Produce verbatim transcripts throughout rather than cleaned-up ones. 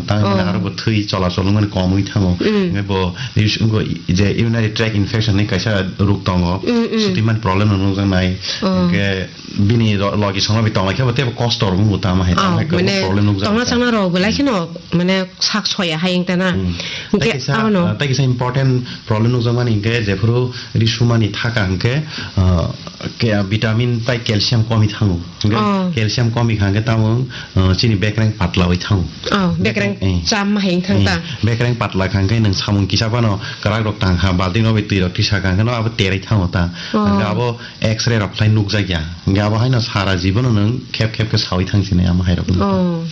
Tang hwnba Oh. aro bo thwi chola chol wngmani komwi thango. Mm. Hwnkhe bo is-, wngkha je urinary tract infection ni kaisa rok tongo. Mm, mm. Swtwi mani problem no nukjaknai. Oh. Hwnkhe bini ro-, logi songno bi tonglaikhe bo teibo kosto rok wngbo tamo hai, Oh, tamo hai kwbangma mane problem nukjak tongna kha. Changna rok belai kheno mane sak soya hai wngtana. Mm. Hwnkhe Tei kaisa, ano. ah, tei kaisa important problem nukjakmani hwnkhe jephuru ri sumani thaka hwnkhe, ah, ke-, vitamin tei calcium komi thango. Hwnkhe Oh. calcium komi kha hwnkhe tamo, ah, chini bekreng patla oi thango. Oh, bekreng Bekreng, eh. cham hai wngthang Eh, ta. bekreng patla kha hwnkhe nwng samung kisa phano kwrak rok tang kha, balti no bai twi rok tisa kha hwnkhe no abo terai thango ta. Oh. Hwnkhe abo X-ray rok khlai nukjakya. Hwnkhe abo haino sara jibono nwng khep khep khe saui thang sinai amo hai rok. Oh,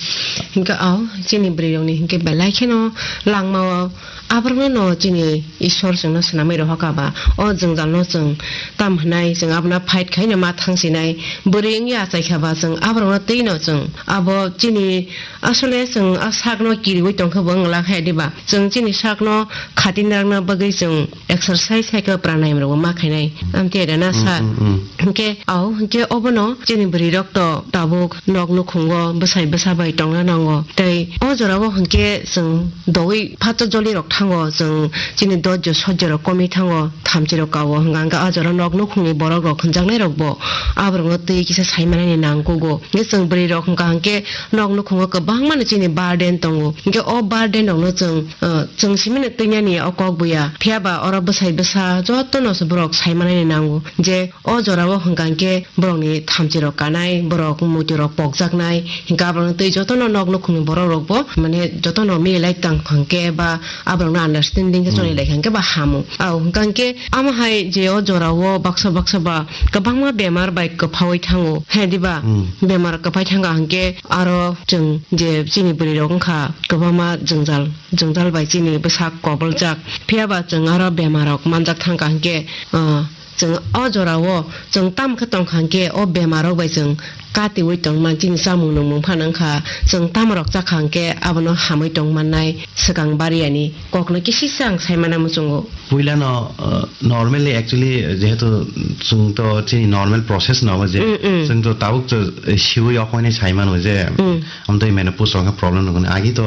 hwnkhe, oh, chini bwrwi rokni hwnkhe belai kheno langmao aborokno no chini Ishwar chwngno swnamwi rohor kha ba, o jwngjalno chwng tam hwnai, chwng abono fight khaino ma thang sinai, bwrwi wngya achai kha ba chwng aborokno twi no chwng abo chini asole chwng a sakno kiriui tong khe bo wng la kha diba, chwng chini sakno khatinarokna bagwi chwng exercise hai khe pranayam rokbo ma khainai. Amtwi rwna Mm, sa. mm, mm. Hwnkhe, au, hwnkhe obono chini bwrwi rok to tabuk nok nukhungo bwsai bwsa bai tongna nango. Tei o jorao hwnkhe chwng doui phato joli rok thango, chwng chini dojjo sojjo rok komwi thango, thamchi rok kao. Hwnkha hwnkhe o jorao nok nukhungni borok rok hwnjaknai rokbo aborokno twi kisa sai manani nangkugo. Hwnkhe chwng bwrwi rok hwnkha hwnkhe nok nukhungo kwbangmano chini burden tongo. Hwnkhe o burden rokno chwng, uh, chwng simino twinani o kok buya. Phiya ba oro bwsai bwsa jotono se borok sai manani nango je o jorao hwnkha hwnkhe borokni thamchi rok kanai, borok muitu rok pokjaknai, hwnkhe aborokno twi jotono nok nukhungni borok rokbo mane jotono mililai tang hwnkhe ba aborokno understanding khe Hmm. choli lai hwnkhe ba hamo. Au hwnkha hwnkhe amo hai je o jorao baksa baksa ba kwbangma bemar bai kwphaui thango. He diba? Hmm. Bemar kwphai thangkha hwnkhe aro chwng je chini bwrwi rok wngkha kwbangma jwngjal, jwngjal bai chini bwsak koboljak. Phiya ba chwng aro bemar rok manjak thangkha hwnkhe, ah, chwng o jorao chwng tam khe tongkha hwnkhe o bemar rok bai chwng katiui tongman chini chamung nungmung phano wngkha. Chwng tamo rok chakha hwnkhe abono hamui tongmannai swkang bariyani kokno kisisa ang sai mana muchungo. Puilano, uh, normally actually jehetu chwng to chini normal process no je Mm, mm. chwng to tabuk to siui okmani sai mano je Mm. amtwi menopause rok problem nukuni agi to,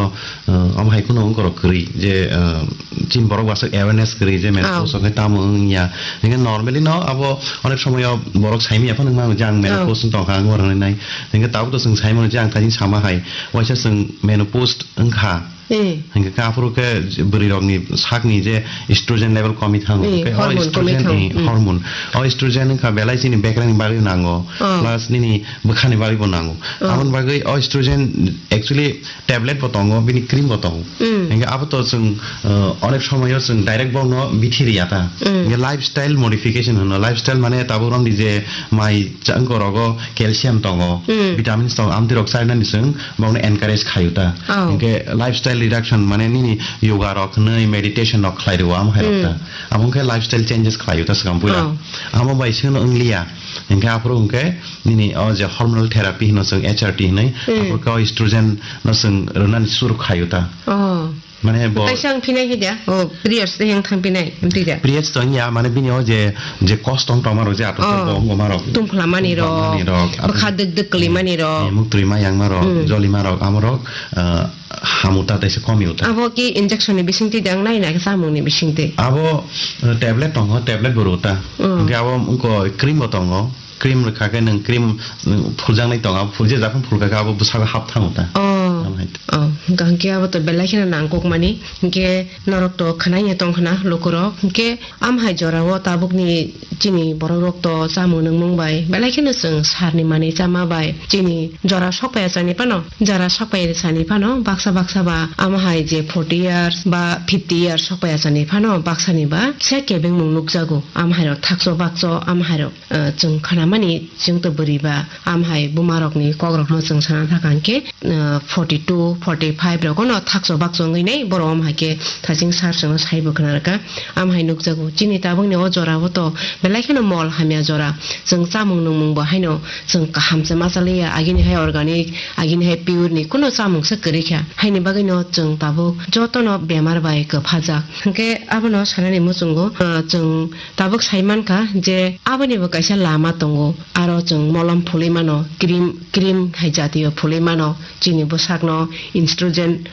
uh, omo hai kheno wngkorok kwrwi je, uh, chini borok bwswk awareness kwrwi je menopause Oh. rok tamo wngya. Hingke normally no abo onek somoyo borok saimanya phano wngmano je ang menopause Oh. wng tongkha ang oro hinwi nai. Hingke tabuk to chwng saimano je ang thani sama hai waisa chwng menopause wngkha. Eh. Hingke khe aphuru khe bwrwi rokni sakni je estrogen level komi thango. Eh, Hingke o hormone komi estrogen, thango. eh, Hmm. hormone. O estrogen wngkha belai chini bekrengni bagwi nango. Oh. Plus nini bwkhani bagwi bo nango. Oh. Aboni bagwi o estrogen actually tablet bo tongo, bini cream bo tongo. Hmm. Hingke abo to chwng, uh, onek somoyo chwng direct bono bithi riya ta. Hmm. Hingke lifestyle modification hwno. Lifestyle mane tabuk romdi je mai changkorogo calcium tongo, Hmm. vitamins tongo, amtwi rok chainani chwng bongno encourage khayu ta. Oh. Hingke lifestyle reduction mane nini yoga rok hwnwi meditation rok khlai rwo amo hai rok ta. Hmm. Amo wngkhe lifestyle changes khlayu ta swkang puila. Oh. Amo bai sino wngliya. Hingke aphuru hingke nini o je hormonal therapy hino chwng H R T hinwi, Hmm. aphuru khe o estrogen no chwng rwnani suru khayu ta. Oh. Mane bo Kaisa ang phinai hi da? Oh, periods de yang thang phinai, amtwi da? Periods to wngya, mane bini o je, je kosto wng tongma rok je atok Oh. bo wngma rok. Tungphla mani rok, Tungphla mani rok, bwkha dwk dwk kwlwi mani rok. Eh, muktwi ma yangma rok, Hmm. jolima rok, amo rok, ah, hamu ta tei se komi uta. Abo ki injection ni bising twi dang nai na samung ni bising twi? Abo, eh, tablet tongo, tablet bo rw ta. Mm. Hingke abo wngko cream bo tongo. Cream rwkha khe nwng cream, nwng phuljaknai tongo, abo phulje japhang phulkha khe abo bwsago hap thango ta. Oh. Amo hai. Oh, hingka hingke abo to belai kheno nangkuk mani. Hingke norok to khwnai ya tong khna lukurok. Hingke Am hai jorao tabukni chini borok rok to chamung nungmung bai belai kheno chwng sarni manwi chama bai chini jora sokpaiya chani phano, jora sokpaiya chani phano baksa baksa ba am hai je forty years ba fifty years sokpaiya chani phano baksani ba se kebengmung nukjago. Am hai rok thakcho bakcho am hai rok, eh, chwng khanamani chwng to bwrwi ba am hai buma rokni kok rokno chwng sana thaka hwnkhe, eh, forty two, forty five rogono thakcho bakcho wngwi nai borok am hai khe thaching sar chwngno saibo khna rwkha. Am hai nukjago, chini tabukni o jora o to belai kheno mol hamya jora. Chwng chamung nungmung bo haino chwng kaham se ma chaliya, agini hai organic, agini hai pure ni kuno chamung se kwrwi kha. Haini bagwi no chwng tabuk jotono bemar bai kwphajak. Hwnkhe abono sanani muchungo, ah, chwng tabuk sai mankha je aboni bo kaisa lama tongo. Aro chwng molom phulwi mano, cream, cream hai jatiyo phulwi mano, chini bwsakno estrogen